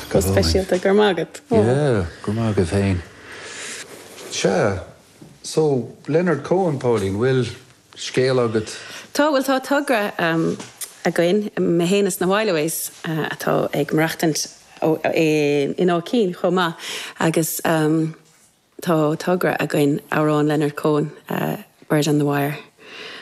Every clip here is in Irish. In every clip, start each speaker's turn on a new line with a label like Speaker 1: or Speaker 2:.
Speaker 1: Go speisialta, go raibh maith agat.
Speaker 2: Yeah, go raibh maith agat féin. Sea, so, Leonard Cohen, Pauline, bhfuil scéal agat?
Speaker 1: Tá, bhuel tá togra againn, mé féin is na Whileaways atá ag maireachtaint in Áth Cinn chomh maith agus Tá togra againn amhrán Leonard Cohen, Bird on the Wire,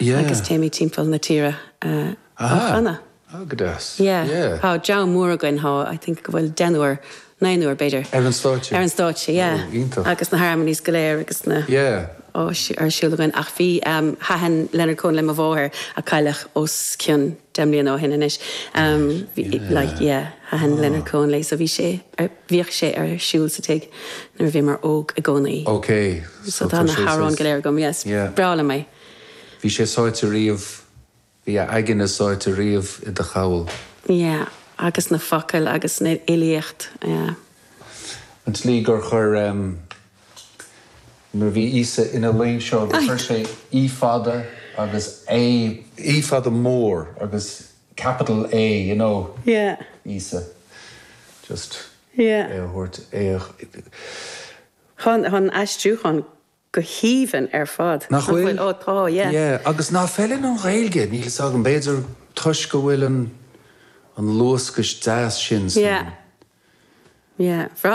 Speaker 1: agus téimid timpeall na tíre á chanadh.
Speaker 2: Ah, go deas.
Speaker 1: Yeah. Tá dream mór againn, tá, I think go bhfuil deichniúr, naonúr b'fhéidir.
Speaker 2: Ar an stáitse?
Speaker 1: Ar an stáitse, yeah.
Speaker 2: Oh, iontach.
Speaker 1: Agus na harmonies go léir agus na.
Speaker 2: Yeah.
Speaker 1: Á ar siúl againn. Ach bhí, thaitin Leonard Cohen le mo mháthair a cailleadh os cionn 10 mbliana ó shin anois. Bhí, like, yeah, thaitin Leonard Cohen léi so bhí sé ar. Bhíodh sé ar siúl sa tigh nuair a bhíomar óg i gcónaí.
Speaker 2: Ok,
Speaker 1: so tá na hamhráin go léir agam, yes. Breá liom é.
Speaker 2: Bhí sé sáite riamh, bhí a aigne sáite riamh i do chabhail.
Speaker 1: Yeah, agus na focail agus an fhilíocht, yeah.
Speaker 2: An tslí gur chuir, nuair a bhí Íosa ina luí seo, gur chuir sé I fada agus A, I fada mór agus capital A, you know,
Speaker 1: Yeah.
Speaker 2: Íosa. Just
Speaker 1: Yeah.
Speaker 2: é a thabhairt, é a.
Speaker 1: Tá an aistriúchán go haoibhinn ar fad.
Speaker 2: Nach bhfuil?
Speaker 1: Ó tá, yeah.
Speaker 2: Yeah, agus ná feileann an Ghaeilge, níl fhios agam, b'fhéidir toisc go bhfuil an an luascais deas sin san.
Speaker 1: Yeah. Yeah. Bhreá.